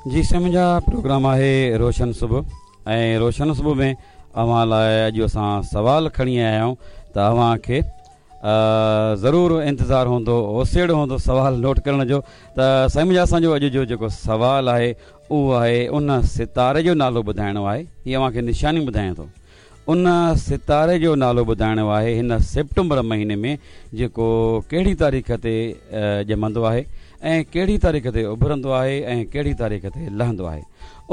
جي سائين منهنجا پروگرام آهي روشن صبح ۽ روشن صبح ۾ اوهان لاء اڄ اسان سوال کڻي آيا آهيون ته اوهان کي ضرور انتظار هوندو اوسيڙو هوندو سوال نوٽ ڪرڻ جو ته سائين منهنجا اسان جو اڄ جو جيڪو سوال آهي اهو آهي ان ستاري جو نالو ٻڌائڻو آهي هي اوهان کي نشاني ٻڌايان ٿو ان ستاري جو نالو ٻڌائڻو آهي هن سيپٽمبر مهيني ۾ جيڪو ڪهڙي تاريخ تي ڄمندو آهي ۽ ڪهڙي تاريخ تي اڀرندو آهي ۽ ڪهڙي تاريخ تي لهندو آهي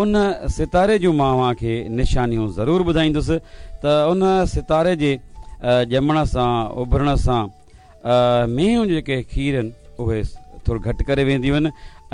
ان ستاري جون مان اوهان کي نشانيون ضرور ٻڌائيندس ته ان ستاري جي ڄمڻ سان اڀرڻ سان مينهن جيڪي کير آهن اهي ٿورو گهٽ ڪري وينديون آهن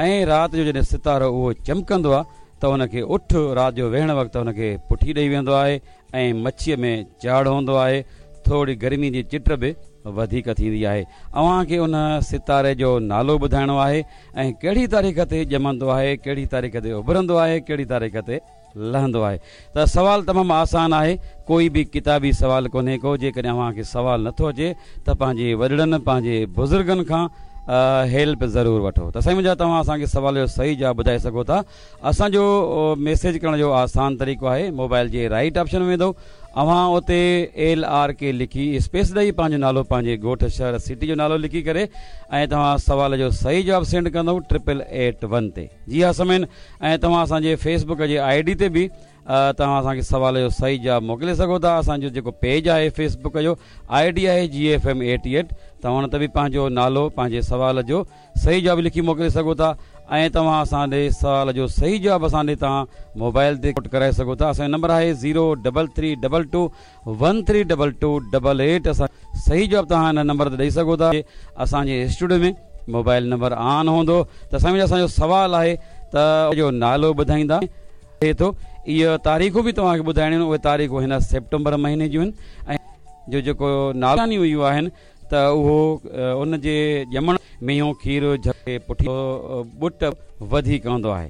۽ رات جو جڏهن ستارو اهو چمڪندو آهي ته ان کي اٺ رات جو ويهڻ وقت ان کي پٺي ڏئي ويندو آهي ۽ مڇيء ۾ چاڙهه هوندو آهي، ٿوري گرمي جي چٽ به وڌيڪ ٿيندي آهي. اوهان کي ان ستاري جو نالو ٻڌائڻو آهي ۽ ڪهڙي تاريخ تي ڄمندو آهي، ڪهڙي تاريخ تي اڀرندو آهي، ڪهڙي تاريخ تي لهندو آهي. ته سوال تمام آسان آهي، ڪوئي به ڪتابي سوال ڪونهي ڪو، جيڪڏهن اوهان کي سوال نٿو اچي ته پنهنجي وڏڙن، پنهنجي بزرگن کان هيلپ ضرور وٺو. ته سائين منهنجا توهان اسان کي سوال جو صحيح جواب ٻڌائي سگهو ٿا. اسان جو ميسيج ڪرڻ جو آسان طريقو آهي موبائل جي رائيٽ آپشن ۾ ويندو اوهان اتي ايل آر ڪي لکي اسپيس ڏئي پنهنجو نالو پنهنجي ڳوٺ شهر سٽي جو نالو لکي ڪري ۽ توهان سوال جو صحيح جواب سينڊ ڪندو ٽرپل ايٽ ون تي جي ها سامعين ۽ توهان اسان جي فيس بڪ جي I D تي به توهان اسان کي سوال جو صحيح جواب موڪلي سگهو ٿا اسان جو جيڪو پيج آهي فيس بڪ جو I D آهي جي ايف ايم 88 توهان ان تي به پنهنجو نالو پنهنجي سوال جو صحيح جواب لکي موڪلي سگهو ٿا ۽ توهان اسان ڏي سوال جو صحيح جواب اسان ڏي توهان موبائل تي نوٽ ڪرائي سگهو ٿا اسان جو نمبر آهي zero double three double two one three double two double eight اسان صحيح جواب توهان هن نمبر تي ڏئي سگهو ٿا اسان جي اسٽوڊيو ۾ موبائل نمبر آن هوندو ته سائين اسان جو سوال آهي ته جو نالو ٻڌائيندا ٿئي ٿو اهي تاريخون به توهان کي ٻڌائڻيون آهن اهي تاريخون هن سيپٽمبر مهيني جون آهن ۽ جو جيڪو نالو اهو آهن ته اهو ان جي ڄمڻ مينهون کير جهڪي پٺي ٻٽ وڌيڪ هوندو آهي.